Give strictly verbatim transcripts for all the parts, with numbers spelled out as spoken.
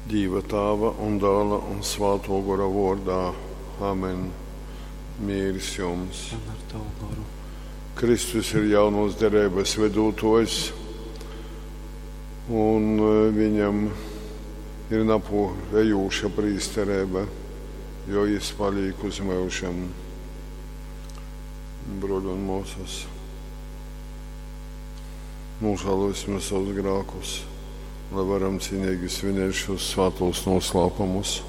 Dīva Tāva un Dāla un Svātō Gora vōrdā. Amen. Mīrs jums. Un ar tavu goru. Kristus ir jaunōs dereibas vedūtōjs, un e, viņam ir napōrejūša prīstereiba, jo jis palīk uz myužam. Bruoļi un mōsas, nožēlosim savus grākus, lai varam cienīgi svinēt šos svētos noslēpumus.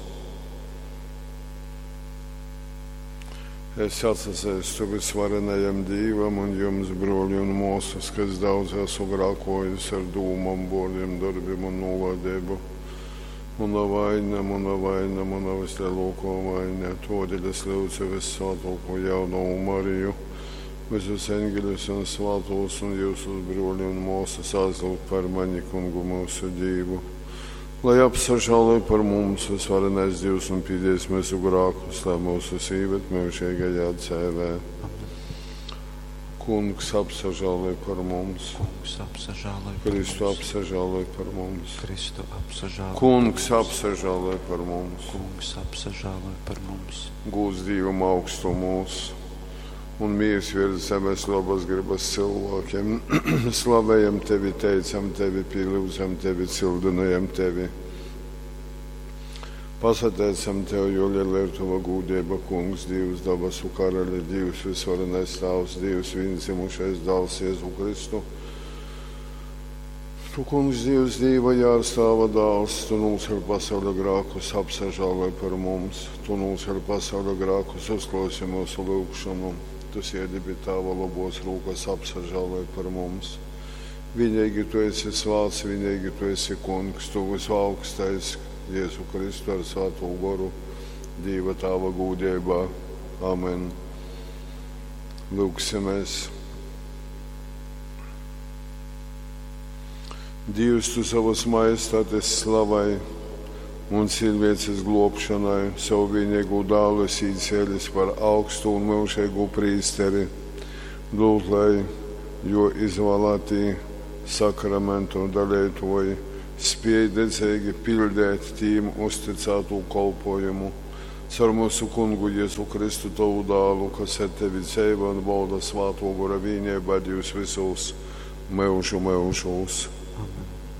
Es atsazeistu visvarenajam Dīvam un jums, bruoļi un mōsas, kas daudz esmu grākojis ar dūmom, vōrdiem, darbiem un nūvādību. Muna vaina, muna vaina, muna vislielākā vaina. Todēļ es lūdzu vissvētāko jaunavu Mariju, visus eņģeļus un svētos un jūsus bruoļi un mōsas aizlūgt par mani, kungu mūsu Dīvu. Lai apsažāloj par mums visvarenais Dievs un pīdies mūsu grākus, lai mūsu īved mūžīgajā dzīvē. Amen. Kungs apsažāloj par mums. Kungs apsažāloj par Kristu mums. apsažāloj par mums. Kristu apsažāloj Kungs par mums. apsažāloj par mums. Kungs apsažāloj par mums. Gūs Dievam augstumos un miers virs zemes labas gribas cilvēkiem. Slavējam tevi, teicam tevi, pielūdzam tevi, cildinājam tevi. Pasateicam tev, jo liela ir tava gūdība, Kungs, Dievs, dabasu karali, Dievs, visvarenais Tēvs, Dievs, viendzimušais dēls Jēzu Kristu. Tu, Kungs, Dievs, Dieva jārs, Tava dēls, Tu nocēl pasaules grākus, apsažāloj par mums. Tu nocēl pasaules grākus, uzklausi mūsu lūgšanu. Tu sēdi pie Tava labos rūkas, apsažāloj par mums. Vienīgi Tu esi svāts, vienīgi Tu esi Kungs, Tu visaugstais, Jēzu Kristu ar Svēto Goru, Dieva Tava gūdībā. Amen. Lūgsimies. Dievs, tu savas majestātes slavai un cilvēces glābšanai savu vienīgo dēlu esi īcēlis par augstu un mūžīgu prīsteri. Lūdz, lai jo izvēlētī sakramentu dalītoji spēj dedzīgi pildīt tīm uzticēto kolpojumu. Caur mūsu kungu Jēzu Kristu tavu dēlu, kas ar tevi dzīvo un valda Svāto Gora vienībā Dievs visos mūžu mūžos. Amen.